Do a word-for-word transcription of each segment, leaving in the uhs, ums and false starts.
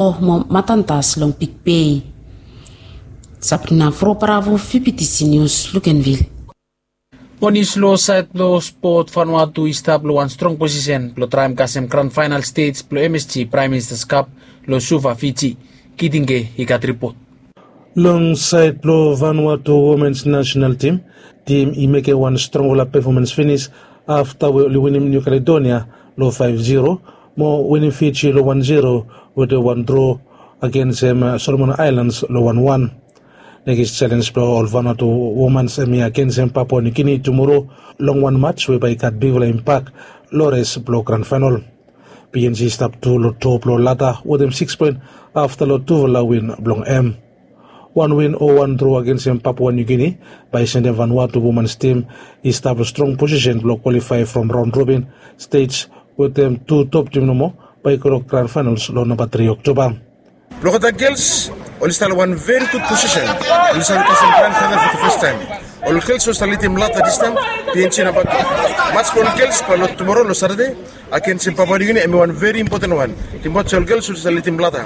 Mo matantas long Big Bay. Sabrina Froparavo, Fibitisi Nius, Lukenvil. Mo nius long saed blong spot, Vanuatu i stap long wan strong posisen blong traem kasem grand faenal stej blong M S G Praem Ministas Kap long Suva, Fiji. Kitinge i gat ripot. Long saed blong Vanuatu womens nasenal tim, tim i mekem wan strongfala pefomans finis afta we oli winim Niu Kaledonia long faef zero, mo winim Fiji long wan zero wetem wan dro agensem Solomon Aelans long wan wan. Nekis selens blong ol Vanuatu womans hemia agensem Papua Niu Gini tumoro long wan mats we bae i gat bigfala impak long res blong gran faenal. P N G i stap tu long top long lada wetem sikis poen afta long tufala win blong hem. Wan win o wan dro agensem Papua Niu Gini bae i sendem Vanuatu womans tim i stap long strong posisen blong kwalifae from raon robin stej wetem tu top tim nomo bae i go long gran faenals long namba tri Oktoba. Blong olgeta gels, oli stap long wan veri gud posisen. Oli save kasem gran faenal for the first time. Ol gels oli stap lidim lada distaem, P N G namba tu. Mats blong ol gels bae long tumoro long Satade agensem Papua Niu Gini hemi wan veri impoten wan. Tim wats ol gels oli stap lidim lada.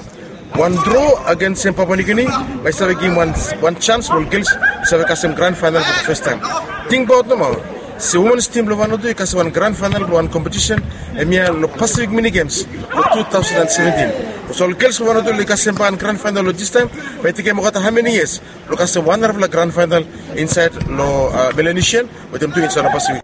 Wan dro agensem Papua Niu Gini bae i save givim wan, wan janis blong ol gels i save kasem gran faenal for the first time. Tingbaot nomo se womens tim blong Vanuatu i kasem wan gran faenal blong wan kompetisen hemia long Pasifik Mini Gems long tu taosen and seventin. Olsem ol gels blong Vanuatu oli kasem wan gran faenal long distaem, bae i tekem olgeta hao meni yias blong kasem wan narafala gran faenal insaed long, a, Melanesian wetem tu insaed long Pasifik.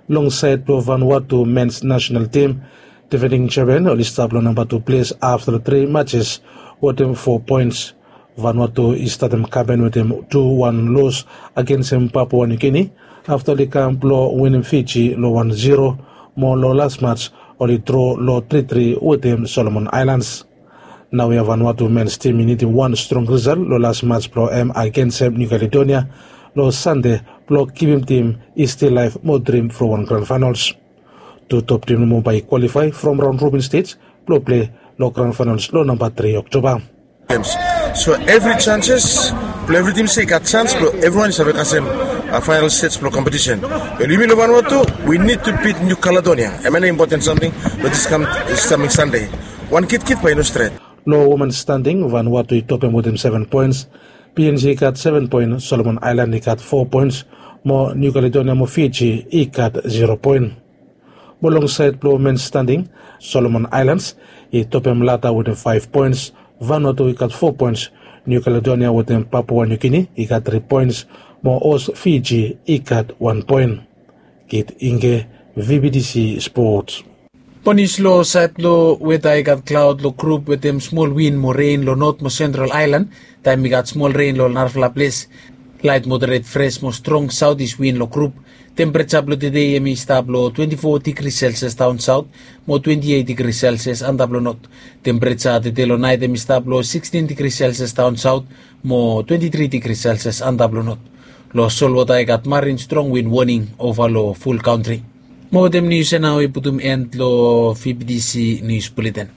Long saed blong Vanuatu mens nasenal tim, difending jampion oli stap long namba tu ples afta long tri matses wetem fo poens. Vanuatu i statem kampen wetem tu wan los agensem Papua Niu Gini afta oli kam blong winim Fiji long wan zero, mo long las mats oli dro long tri tri wetem Solomon Aelans. Naoia Vanuatu mens tim i nidim wan strong risal long las mats blong hem agensem Niu Kaledonia long Sande blong kipim tim i stil laef mo drim from wan gran faenals. Tu top tim nomo bae i kwalifae from raon robin stej blong plei long gran faenals long namba tri Oktoba. So evri janses blong evri tim se i gat jans blong evriwan i save kasem, a, faenal stej blong kompetisen. Wel, yumi long Vanuatu, we need to beat New Caledonia. Hemia nao impoten samting blong dis kam, dis kaming Sande. Wan kitkit bae i no stret. Long women standing, Vanuatu i topem wetem seven poens. P N G i gat seven poen, Solomon Aelan i gat fo poens, mo New Caledonia mo Fiji i gat zero poen. Mo long saed blong men standing, Solomon Aelans i topem lada wetem faef poens, Vanuatu i gat fo poens, New Caledonia wetem Papua New Guinea i gat tri poens, mo hos Fiji i gat wan poen. Kit Inge, V B T C Sports. Ponis long saed blong weta i gat klaod long grup wetem smol win mo ren long not mo sentral aelan, taem i gat smol ren long narafala ples. Laet moderet fres mo strong saotis win long grup. Tempereja blong tede hemi stap long twenti fo digri selsias daon saot mo twenti eit digri selsias antap long not. Tempereja tede long naet hemi stap long sikstin digri selsias daon saot mo twenti tri digri selsias antap long not. Long solwota i gat marin strong win woning ova long ful kantri. Mo wetem nius ya nao i putum en long V B T C nius buleten.